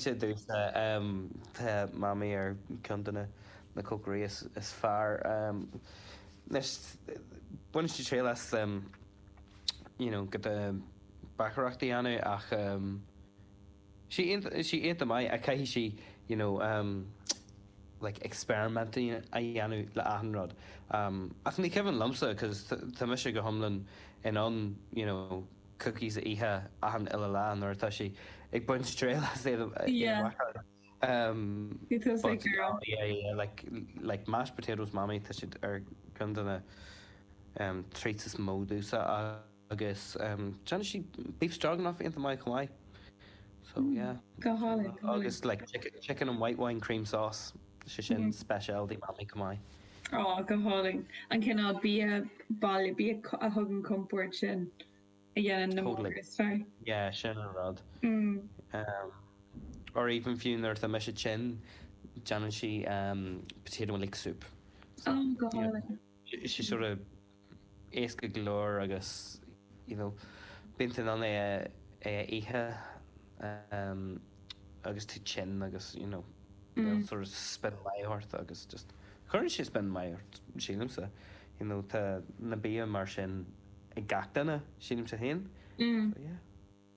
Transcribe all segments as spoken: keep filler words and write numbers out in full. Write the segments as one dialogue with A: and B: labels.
A: Cinnte domhsa tá Mamaí ar ceann de na cócairí is fearr. Anois baineann sí triail as you know giota bacaireacht a dhéanamh ach sí sí iontach maith ach caithfidh sí you know like experiment a dhéanamh le achan rud. Ach ní cuimhin liomsa cause tá mise go hiomlán in ann you know cookies a ithe achan uile lá nuair atá sí ag baint triail as iad a bhacáil. Um, but yeah, yeah, like like mashed potatoes Mamaí tá siad ar ceann de na um, treats is mó domhsa agus um, déanann sí beef stroganoff iontach maith chomh maith. So yeah.
B: Go hálainn.
A: Agus like chicken, chicken and white wine cream sauce sé sin specialty Mamaí chomh maith.
B: Á go hálainn. An cineál bia baile bia a thugann compord sin a dhéanann na
A: Totally.
B: is fearr.
A: Yeah, sin an rud.
B: Mm.
A: Um, or even fiú nuair atá mise tinn déanann sí um, potato and leek soup.
B: So, oh, go hálainn.
A: Sí sort of éasca go leor agus you know, bíonn tú in ann é é a ithe um, agus tú tinn agus you know, mm. sort of spion maith ort agus just chuireann sé spion maith ort sílimse. You know, tá na bia mar sin ag gach duine sílimse féin.
B: Mm.
A: So, yeah.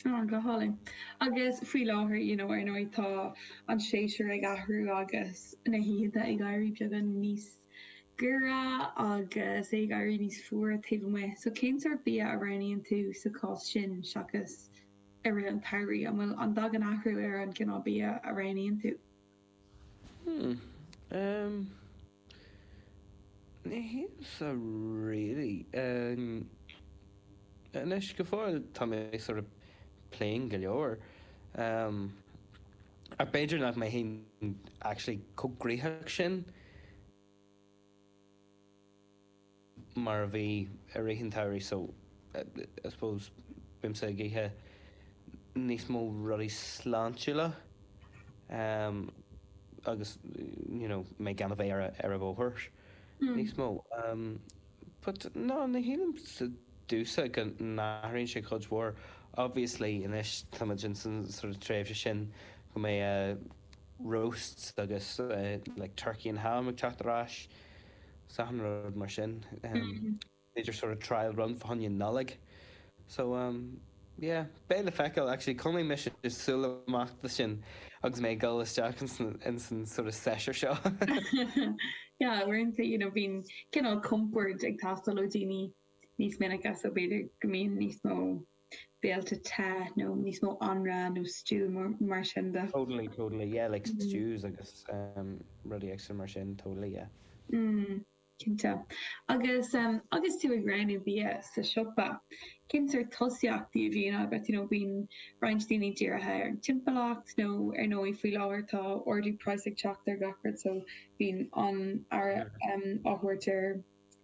B: Oh, go hálainn. Agus faoi láthair you know, ar ndóigh tá an séasúr ag athrú agus na hoícheanta ag éirí beagán níos giorra agus é ag éirí níos fuaire taobh amuigh. So cén sórt bia a roghnaíonn tú sa chás sin seachas i rith an tsamhraidh, an bhfuil an dtagann athrú ar an gcineál bia a roghnaíonn tú?
A: Hmm. Um, ní shílimse really. Um, anois go fóill tá mé sort of plain go leor. Um, ach b'fhéidir nach mbeinn actually chomh gnoitheach sin mar a bhí i rith an tsamhraidh so I suppose bímse ag ithe níos mó rudaí sláintiúla um, agus you know, mé gan a bheith ar ar an bhóthar níos mó. Um, but no ní shílim domhsa go n-athraíonn sé cuid mhór. Obviously anois táimid in san sort of tréimhse sin go mbeidh uh, roasts agus uh, like turkey and ham ag teacht ar ais achan rud mar sin. Um, B'fhéidir sort of trial run fá choinne Nollaig. So um, yeah, beidh le feiceáil actually coinneoidh mise súil amach do sin agus mé ag dul isteach in san sort of séasúr seo.
B: Yeah, uaireanta you know, bíonn cineál compord ag teastáil ó daoine níos minice so b'fhéidir go mbíonn níos mó béilte te nó níos mó anraith nó stew mar, mar sin de.
A: Totally, totally, yeah, like mm. stews agus um, rudaí extra mar sin, totally, yeah.
B: Mm. Cinnte. Agus um, agus tú ag roghnú bia sa siopa. Cén sórt tosaíochtaí a bhíonn agat you know, bíonn roinnt daoine dírithe ar an timpeallacht nó ar ndóigh faoi láthair tá ardú praghas ag teacht ar gach rud so bíonn an aire um, á thabhairt ar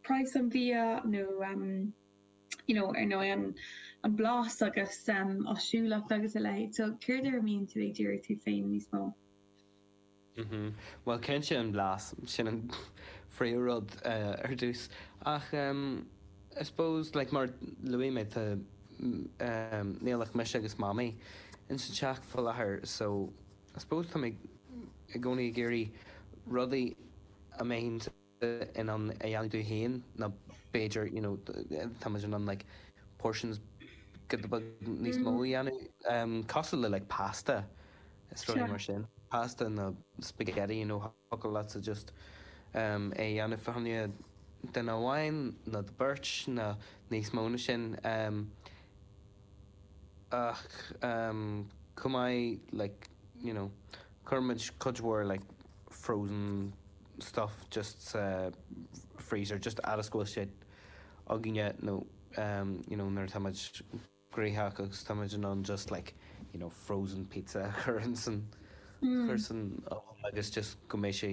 B: praghas an bhia nó um, you know, ar ndóigh an, an blas agus um, áisiúlacht agus a leithéid. So céard ar a mbíonn tú ag díriú tú féin níos mó?
A: Mm -hmm. Well cinnte an blas sin an phríomhrud uh, ar dtús ach um, I suppose like mar luaigh mé tá um, níl ach mise agus mamaí in san teach faoi láthair so I suppose tá mé i gcónaí ag iarraidh rudaí a mbeinn in ann a dhéanamh dom féin nó b'fhéidir you know, tá in ann like portions giota beag níos mó a dhéanamh um, cosúil le like pasta is rudaí mar sin pasta nó spaghetti you know thiocfadh leatsa just um, é dhéanamh fá choinne duine amháin nó do beirt nó níos mó ná sin um, ach um, chomh maith like you know cuirimid cuid mhór like frozen stuff just sa freezer just fhad is go bhfuil sé againne nó um, you know nuair táimid gnoitheach agus táimid in ann just like you know frozen pizza a chur san chur san oven agus just go mbeidh sé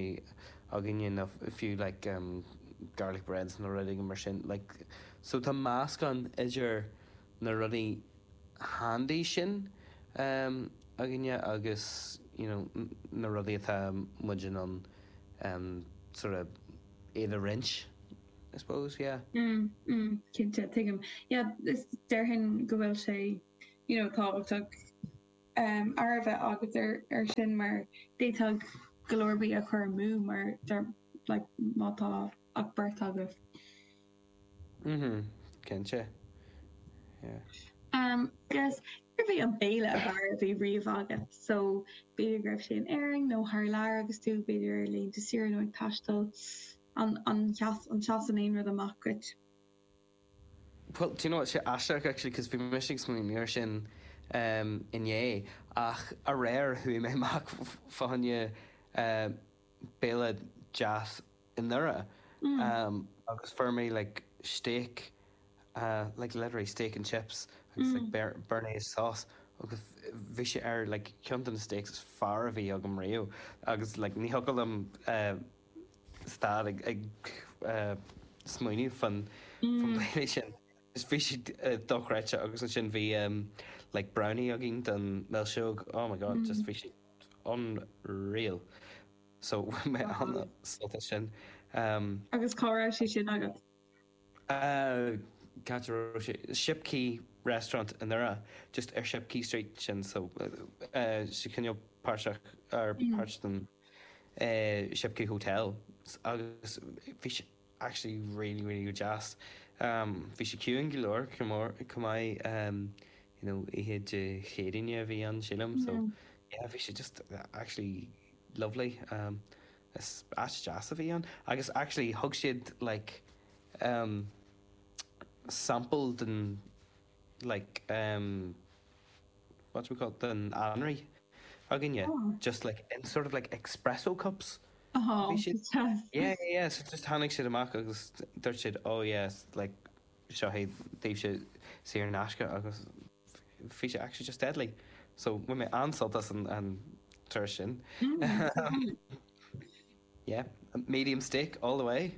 A: againne nó fiú like um, garlic breads nó rudaí mar sin like so tá meascán idir na rudaí handy sin um, againne agus you know na rudaí atá muid in ann um, sort of iad a roinnt I suppose yeah.
B: Mm, mm, cinnte tuigim. Yeah, is déarfainn go bhfuil sé you know, tábhachtach um, aire a bheith agat ar, ar sin mar d'fhéadfadh go leor bia a chur amú mar der, like, má tá ach beirt agaibh.
A: Mhm, cinnte. Yeah.
B: Um, agus cérbh é an béile ab fhearr a bhí riamh agat, so b'fhéidir go raibh sé in Éirinn nó thar lear agus tú b'fhéidir ar laethanta saoire nó ag taisteal an an sheas an seasann aon rud amach duit.
A: Well, do you know what, sé aisteach actually, cos bhí mise ag smaoineamh air sin um, inné ach aréir chuaigh mé amach fá choinne uh, béile deas i nDoire
B: Mm.
A: um, agus fuair mé like steak uh, like literally steak and chips agus like
B: Mm.
A: bear, béarnaise sauce agus bhí sé ar like ceann de na steaks is fearr a bhí agam riamh agus like ní thiocfadh liom uh, stad ag, ag uh, smaoineamh fan fan
B: Mm.
A: béile sin. Is bhí sé uh, dochreidte agus ansin bhí um, like brownie againn don milseog oh my god just
B: Mm.
A: bhí sé unreal. So mé
B: Wow.
A: an sin. Um,
B: Agus cá raibh sé sin agat.
A: Uh, Cá raibh sé Shipquay restaurant in Doire just ar Shipquay Street sin so uh, uh, sé cineál páirteach ar
B: Mm.
A: páirt den uh, Shipquay Hotel agus bhí sé actually really really go deas. Um, bhí sé ciúin go leor chomh mór chomh maith um, you know, oíche Dé Céadaoine a bhí ann sílim so
B: Mm.
A: yeah, bhí sé just uh, actually lovely. Um, is áit deas a bhí ann agus actually thug siad like um, sample den like um, what do we call it den anraith againne
B: Oh.
A: just like in sort of like espresso cups.
B: Oh,
A: Bhí siad
B: deas.
A: yeah yeah yeah so just tháinig siad amach agus dúirt siad oh yes like seo é daoibhse saor in aisce agus bhí sé actually just deadly. So bhain mé an-sult as an an turas sin.
B: Mm.
A: Yeah, medium steak all the way.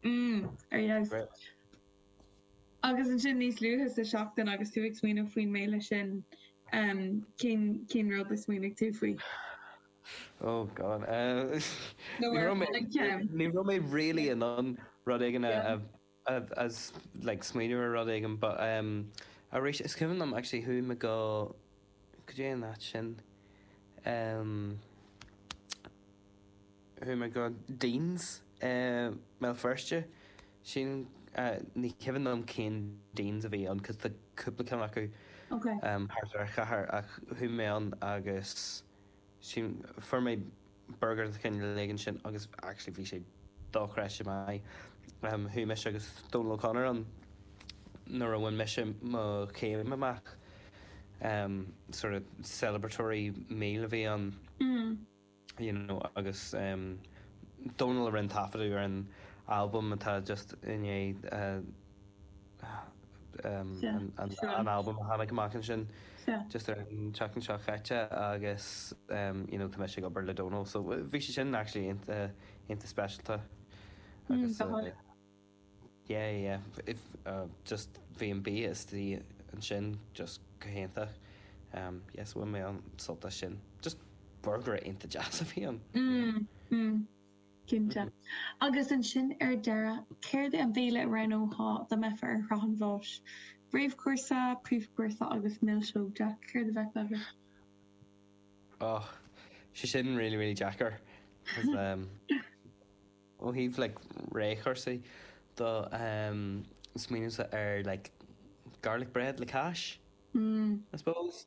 B: Mm. Ar yes.
A: Great.
B: Agus ansin níos luaithe sa seachtain agus tú ag smaoineamh faoin mbéile sin um, cén cén rud a smaoinigh tú faoi.
A: Oh God. Uh,
B: No
A: ní
B: ar
A: raibh mé
B: like, um,
A: ní raibh mé really in ann rud éigin a,
B: yeah.
A: a, a, as like smaoineamh ar rud éigin, but um, arís is cuimhin liom actually chuaigh mé go go dtí an áit sin um, chuaigh mé go Dean's uh, Béal Feirste sin uh, ní cuimhin liom cén Dean's a bhí ann cos tá cúpla ceann acu
B: Okay.
A: um, thart ar chathair ach chuaigh mé ann agus sin fuair mé burger de chineál éigin sin agus actually bhí sé dochreidte maith. Um, chuaigh mise agus Donal O'Connor ann nuair a bhain mise mo chéim amach um, sort of celebratory meal a bhí ann
B: Mm.
A: you know, agus um, Donal a rinne taifeadadh ar an album atá just inné uh, um,
B: Sea,
A: an, an,
B: sure.
A: an album a tháinig amach ansin
B: Sea.
A: just ar an tseachtain seo caite agus um, you know, tá mise ag obair le Donal so bhí sé sin actually iontach iontach speisialta
B: Mm,
A: agus
B: go
A: uh,
B: háirithe.
A: yeah yeah if uh, just bhí an bia istigh ansin just go hiontach um, yes bhain mé an-sult as sin just burger iontach deas a bhí ann
B: Mm, mm. Cinnte. Agus ansin ar deireadh, céard é an béile a roghnófá dá mbeifeá ar shraith an bháis? Réamhchúrsa, príomhchúrsa agus milseog Jack, céard a bheadh agat?
A: Oh, sé sin really really deacair 'cause, um, ó thaobh like réamhchúrsaí do um, smaoinímse ar like garlic bread le cáis
B: Mm.
A: I suppose.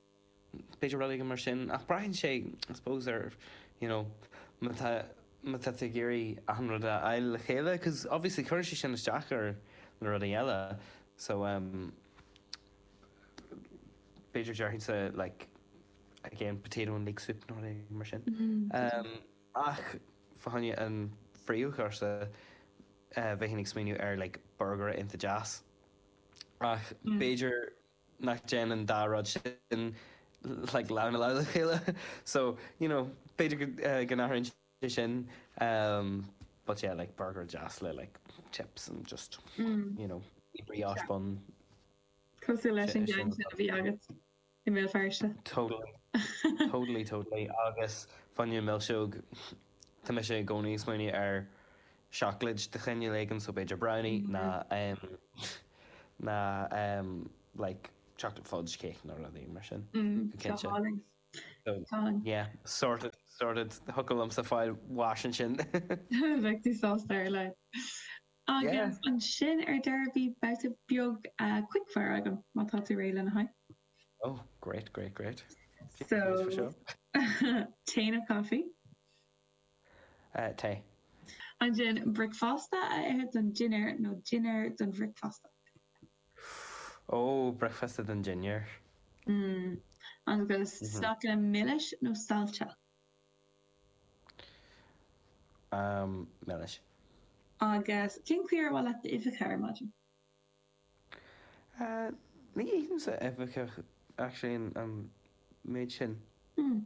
A: B'fhéidir rud éigin mar sin ach braitheann sé I suppose ar you know má tá má tá tú ag iarraidh achan rud a fháil le chéile cos obviously cuireann sé sin isteach ar na rudaí eile so um, b'fhéidir déarfainnse like again potato and leek soup nó rud éigin mar sin.
B: Mm.
A: Um, ach fá choinne an phríomhchúrsa uh, bheinn ag smaoineamh ar like burger iontach deas. Ach
B: Mm.
A: b'fhéidir nach dtéann an dá rud sin like lámh i lámh le chéile. So you know b'fhéidir go uh, go n-athraíonn sé sin um, but yeah like burger deas le like chips and just
B: Mm.
A: you know brioche bun
B: Cosúil leis an
A: Sin-
B: gceann
A: sin
B: sin a bhí agat i mBéal Feirste.
A: Totally totally totally agus fá choinne milseog tá mise i gcónaí ag smaoineamh ar seacláid de chineál éigin so b'fhéidir brownie ná um, ná um, like chocolate fudge cake nó rudaí mar sin.
B: Mm,
A: Go cinnte.
B: go hálainn.
A: So yeah, sorted, sorted. Thiocfadh liomsa fáil bháis ansin.
B: Bheadh tú sásta ar a laghad. Agus ansin ar deireadh bhí babhta beag quickfire agam má tá tú réidh lena haghaidh.
A: Oh, great, great, great.
B: So, tae nó caife?
A: Tae.
B: Ansin bricfeasta a ithe don dinnéar nó dinnéar don bhricfeasta?
A: Ó, bricfeasta don dinnéar.
B: Mm. Agus sneaiceanna milis nó saillte?
A: Um, milis.
B: Agus cén chaoi ar mhaith leat d'uibheacha ar maidin?
A: Uh, ní ithimse uibheacha actually an méid sin.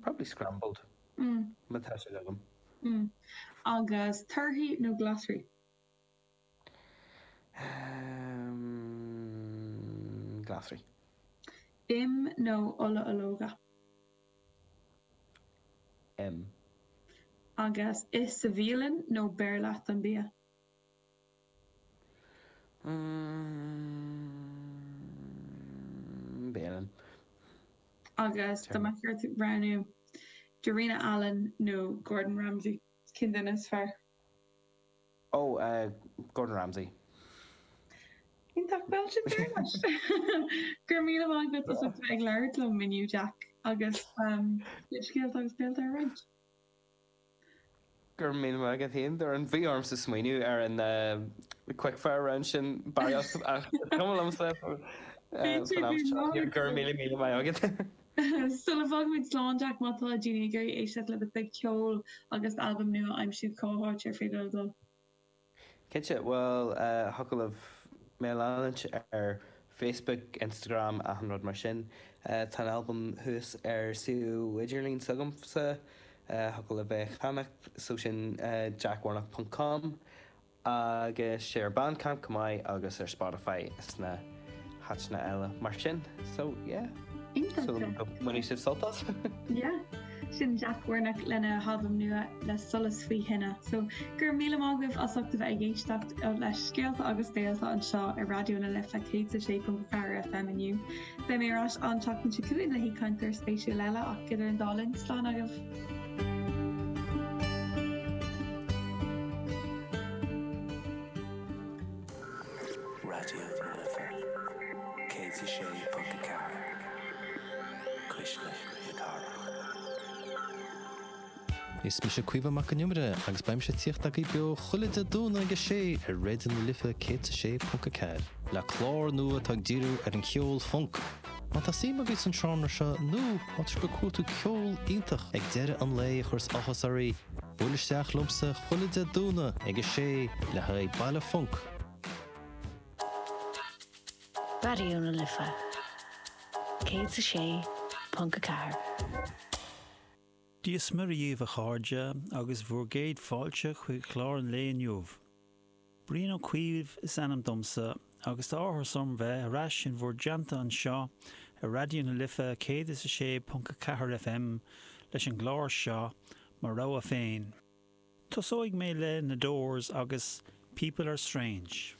A: Probably scrambled. Má tá siad agam.
B: Mm. Agus torthaí nó glasraí?
A: Um, glasraí.
B: Im nó ola ológa?
A: Im.
B: Agus ith sa bhialann nó beir leat an bia?
A: Mm, bialann.
B: Agus dá mbeadh ort roghnú Darina Allen nó Gordon Ramsay, cén duine is fearr?
A: Oh, uh, Gordon Ramsay.
B: Iontach, bhuel sin deireadh leis. Go raibh míle maith agat as ucht a bheith ag labhairt liom inniu, Jack, agus do chuid scéalta agus béalta a roinnt.
A: Go raibh míle maith agat féin, Doireann. Bhí ormsa smaoineamh ar an quickfire round sin barraíocht ach is cuma liomsa san am seo. Go raibh míle míle maith agat.
B: Sula bhfágaimid slán, Jack, má tá daoine ag iarraidh éisteacht le do chuid ceoil agus d'albam nua a aimsiú, cá háit ar féidir leo dul?
A: Cinnte, bhuel, thiocfadh libh mé a leanúint ar Facebook, Instagram, achan rud mar sin. Tá an albam thuas ar suíomh idirlín s'agamsa, thiocfadh libh é a cheannacht, so sin jackwarnock ponc com. Agus sé ar Bandcamp chomh maith agus ar Spotify is na háiteanna eile mar sin. So yeah.
B: Iontach.
A: Súil agam go mbainfidh sibh sult as.
B: Yeah. Sin Jack Warnock lena halbam nua Le Solas Faoi Thine. So go raibh míle maith agaibh as ucht a bheith ag éisteacht le Scéalta agus Béalta anseo ar Raidió na Life céad is a sé ponc a ceathair FM inniu. Beidh mé ar ais an tseachtain seo chugainn le haoichainteoir spéisiúil eile ach idir an dá linn, slán agaibh.
C: Raidió na Life céad is a sé ponc a ceathair, Cuisle na Cathrach.
D: Is mise Caoimhe Mac Con Iomaire agus beidh mise ag tíocht agaibh beo chuile Dé Domhnaigh ag a sé ar Raidió na Life céad is a sé ponc a ceathair le clár nua atá ag díriú ar an cheol func. Má tá suim agaibh san seánra seo nó má tá sibh ag cuartú ceol iontach ag deireadh an lae a chuireas áthas oraibh, buail isteach liomsa chuile Dé Domhnaigh ag a sé le haghaidh Baile Func.
E: Raidió na Life céad is a sé ponc a ceathair.
F: Dia is Muire dhaoibh a chairde agus bhur gcéad fáilte chuig clár an lae inniu. Brian Ó Cuív is ainm domsa agus tá áthas orm bheith ar ais in bhur dteannta anseo ar Raidió na Life céad is a sé ponc a ceathair FM leis an gclár seo, Mo Rogha Féin. Tosóidh mé le Na Doors agus People Are Strange.